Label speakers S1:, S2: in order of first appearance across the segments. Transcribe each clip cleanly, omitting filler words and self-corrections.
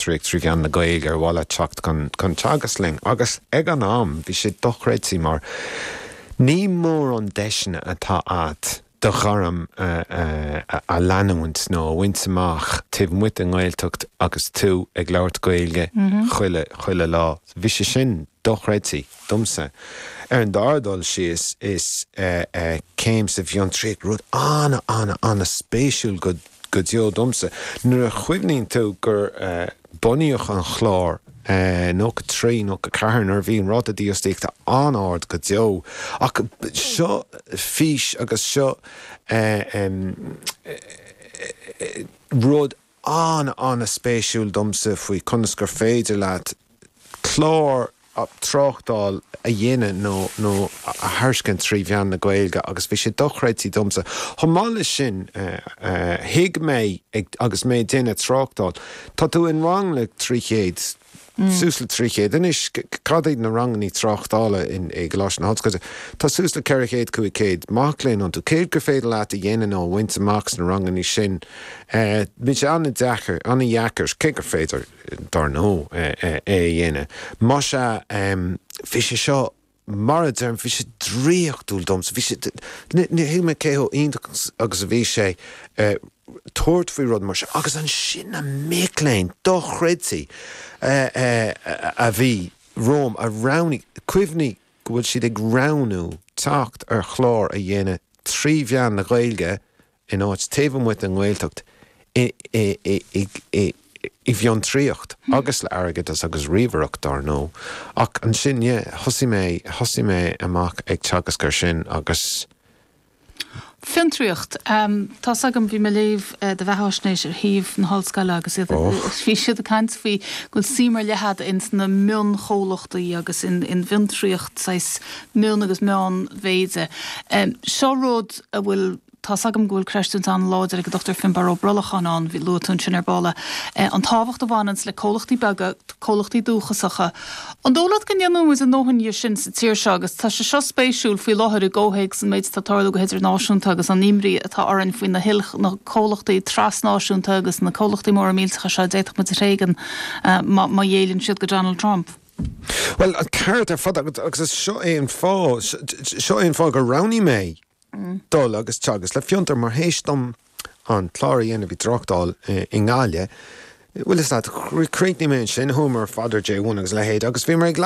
S1: Trí mheán na Gaeilge ar mhaith leat teacht chun teagasc linn agus ag an am bhí sé dochreidte mar ní mórán deiseanna atá a't do ghairm a leanúint nó a bhaint amach taobh amuigh den nGaeltacht agus tú ag labhairt Gaeilge chuile chuile lá. Bhí sé sin dochreidte domsa. Ar an dara dul síos is céim sa bhfiontraíocht, rud ana ana ana spéisiúil go go deo domsa. Nuair a chuimhníonn tú gur bunaíodh an chlár 93, 94 nuair a bhí an ráta dífhostaíochta an-ard go deo ach seo fís agus seo rud an-an-spéisiúil domsa faoi conas gur féidir leat clár tráchtáil a dhéanamh nó nó a thairiscint trí mheán na Gaeilge agus bhí sé dochreidte domsa. Chomh maith leis sin, thuig mé agus mé ag déanamh tráchtáil, tá tú in rang le 300, suas le 300 anois, cad iad na rangannaí tráchtála i gColáiste na hOllscoile? Tá suas le 400, 500 mac léinn iontu. Céard gur féidir leat a dhéanamh nó a bhaint amach sna rangannaí sin? Bíonn sé an-deacair, an-dheacair, cé gur féidir. dar ndóigh, é a dhéanamh. Más ea, bhí sé seo, mar a deirim, bhí sé draíochtúil domsa. Bhí sé, níor thuig mé cé chomh iontach agus a bhí sé tabhairt faoi rud mar seo. Agus ansin na mic léinn dochreidte a bhí romham, a roghnaigh, cuimhnigh go bhfuil siad ag roghnú teacht ar chlár a dhéanamh trí mheán na Gaeilge, in áit taobh amuigh den nGaeltacht i bhfiontraíocht agus le airgeadas agus ríomhaireacht dár ndóigh. Ach ansin, yeah, thosaigh mé, thosaigh mé amach ag teagasc ar sin agus.
S2: Fiontraíocht. Tá's agam, bhí mé ag léamh do bheatháisnéis ar shuíomh na hollscoile agus iad, bhí siad ag caint faoi go bhfuil suim ar leith agat ins na mionchomhlachtaí agus in bhfiontraíocht saghas mion agus meánmhéide. Seo rud a bhfuil Tá's agam go bhfuil creistiúint an-láidir ag an Dr Finbarr Ó Brolacháin ann, bhí, luaigh tú ansin ar ball é, an tábhacht a bhaineanns le comhlachtaí beaga, comhlachtaí dúchasacha. An dóigh leat go ndéanann muid a ndóthain dhe sin sa tír seo agus tá sé seo spéisiúil faoi láthair i gcomhthéacs an méid atá ag tarlú go hidirnáisiúnta agus an imní atá orainn faoi na hil, na comhlachtaí trasnáisiúnta agus na comhlachtaí móra millteacha seo a d'fhéadfadh muid a thréigean má, má ghéilleann siad go Donald Trump.
S1: Bhuel, an ceart ar fad agus is seo é an fáth, seo é an fáth gur roghnaigh mé dul agus teagasc le Fiontar mar théis dom an clár a dhéanamh i dtráchtáil i nGaillimh, bhfuil fhios agat, chríochnaigh mé ansin, chuamar ar fad ar J1 agus a leithéid agus bhíomar ag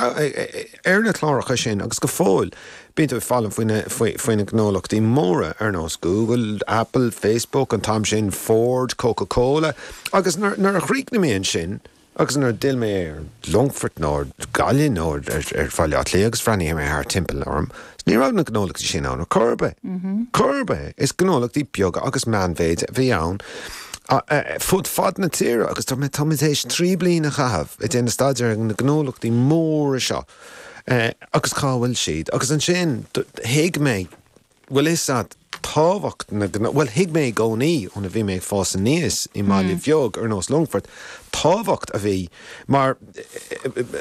S1: ar na cláracha sin agus go fóill bíonn tú ag foghlaim faoi na faoi na gnólachtaí móra ar nós Google, Apple, Facebook, an t-am sin Ford, Coca Cola agus nuair a chríochnaigh mé ansin, Agus nuair a d'fhill mé ar Longfort nó ar Ghaillimh nó ar Bhaile Átha Cliath agus bhreathnaigh mé thart timpeall orm, ní raibh na gnólachtaí sin ann ar chor ar bith. Chor ar bith. Is gnólachtaí beaga agus meánmhéide a bhí ann fud fad na tíre agus dúirt mé, tá mé tar éis 3 bliana a chaitheamh ag déanamh staidéir ar na gnólachtaí móra seo agus cá bhfuil siad? Agus ansin thuig mé Bhfuil fhios a't tábhacht na gnó, bhuel thuig mé i gcónaí óna bhí mé ag fás aníos i mbaile bheag ar nós Longfort, tábhacht a bhí mar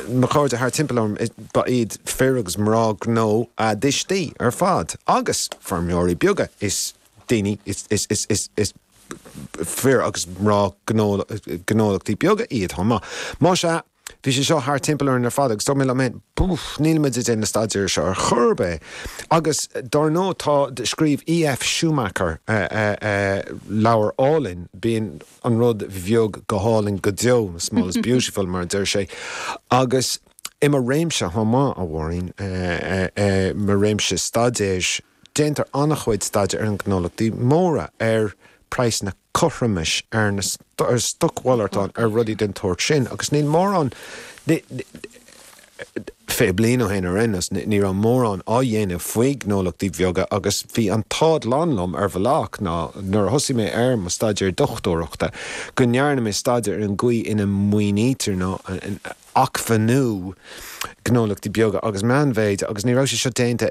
S1: mo chairde thart timpeall orm ba iad fir agus mná gnó a dtuistí ar fad agus feirmeoirí beaga is daoine is is is is is fir agus mná gnó gnólachtaí beaga iad chomh maith. Más ea, Bhí sé seo thart timpeall orainn ar fad agus dúirt mé liom féin, Búf, níl muid ag déanamh staidéir seo ar chor ar bith. Agus dár ndóigh tá, scríobh E.F. Schumacher leabhar álainn, Bíonn an rud bheag go hálainn go deo, Small is Beautiful mar a deir sé. Agus i mo réimse chomh maith, a Mháirín, mo réimse staidéir, déantar an-chuid staidéir ar na gnólachtaí móra, ar praghsanna cothromais, ar na ar stocmhalartáin, ar rudaí den tsórt sin agus níl mórán, 20 bliain ó shin ar aon nós, ní raibh mórán á dhéanamh faoi ghnólachtaí beaga agus bhí an t-ádh glan liom ar bhealach ná nuair a thosaigh mé ar mo staidéar dochtúireachta go ndearna mé staidéar ar an gcaoi ina maoinítear nó acmhainniú gnólachtaí beaga agus meánmhéide agus ní raibh sé seo déanta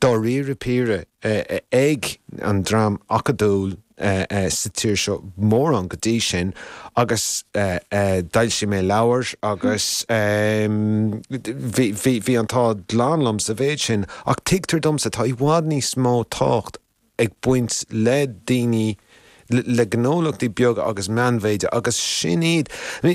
S1: dáiríre píre ag an dream acadúil sa tír seo mórán go dtí sin agus d'fhoilsigh mé leabhar agus bhí bhí an t-ádh glan liom sa mhéid sin ach tuigtear domsa tá i bhfad níos mó tábhacht ag baint le daoine. le gnólachtaí beaga agus meánmhéide agus sin iad.